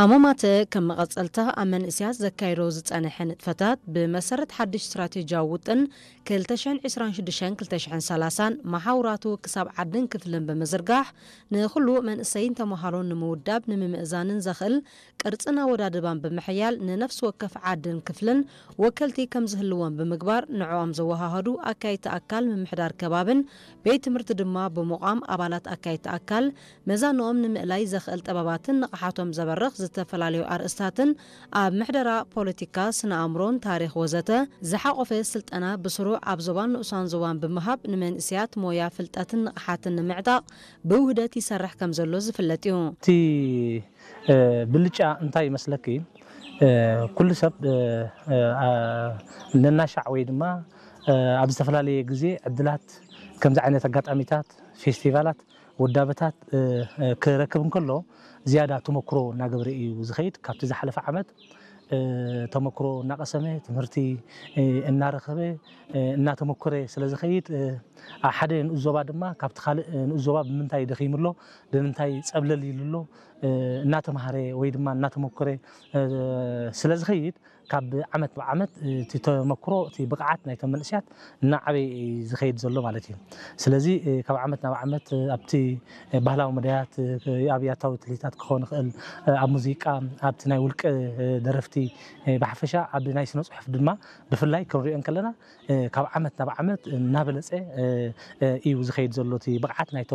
ኣሞማተ ከም መቐጸልታ ኣብ መንእስያት ዘካይዶ ዝጸንሐ ንጥፈታት ብመሰረት ሓድሽ ስትራቴጂያዊ ውጥን ክልተ ሽሕን ዕስራን ሽዱሽተን ክልተ ሽሕን ሰላሳን መሓውራቱ ክሳብ ዓድን ክፍልን ብምዝርጋሕ ንኹሉ መንእሰይን ተመሃሮን ንምውዳብ ንምምእዛንን ዘኽእል ቅርጽን ኣወዳድባን ብምሕያል ንነፍሲ ወከፍ ዓድን ክፍልን ወከልቲ ከም ዝህልዎም ብምግባር ንዕኦም ዘወሃሃዱ ኣካይድቲ ኣካል ምምሕዳር ከባብን ቤት ትምህርቲ ድማ ብምቋም ኣባላት ኣካይድቲ ኣካል መዛንኦም ንምእላይ ዘኽእል ጥበባትን ንቕሓቶም ዘበርኽ ዝተፈላለዩ ኣርእስታትን ኣብ ምሕደራ ፖለቲካ፣ ስነ ኣእምሮን ታሪኽ ወዘተ ዝሓቖፈ ስልጠና ብስሩዕ ኣብ ዞባን ንኡሳን ዞባን ብምሃብ ንመንእስያት ሞያ ፍልጠትን ንምዕጣቕ ብውህደት ይሰርሕ ከም ዘሎ ዝፍለጥ እዩ። እቲ ብልጫ እንታይ ይመስለኪ? ኩሉ ሰብ ነናሻዕ ወይ ድማ ኣብ ዝተፈላለየ ግዜ ዕድላት ከምዚ ዓይነት ኣጋጣሚታት፣ ፌስቲቫላት፣ ውዳበታት ክረክብ እንከሎ ዝያዳ ተመክሮ እናገበረ እዩ ዝኸይድ። ካብቲ ዝሓለፈ ዓመት ተመክሮ እናቐሰመ፣ ትምህርቲ እናረኸበ፣ እናተመኮረ ስለ ዝኸይድ፣ ሓደ ንኡስ ዞባ ድማ ካብቲ ካልእ ንኡስ ዞባ ብምንታይ ደኺሙ ኣሎ፣ ብምንታይ ጸብለል ኢሉ ኣሎ እናተማሃረ ወይ ድማ እናተመኮረ ስለ ዝኸይድ፣ ካብ ዓመት ናብ ዓመት እቲ ተመክሮ፣ እቲ ብቕዓት ናይቶም መንእስያት እናዓበየ እዩ ዝኸይድ ዘሎ ማለት እዩ። ስለዚ ካብ ዓመት ናብ ዓመት ኣብቲ ባህላዊ መዳያት፣ ኣብ ያታዊ ትልሂታት ክኸውን ይኽእል፣ ኣብ ሙዚቃ፣ ኣብቲ ናይ ውልቀ ደረፍቲ ብሓፈሻ ኣብ ናይ ስነ ጽሑፍ ድማ ብፍላይ ክንሪኦ እንከለና ካብ ዓመት ናብ ዓመት እናበለጸ እዩ ዝኸይድ ዘሎ እቲ ብቕዓት ናይቶም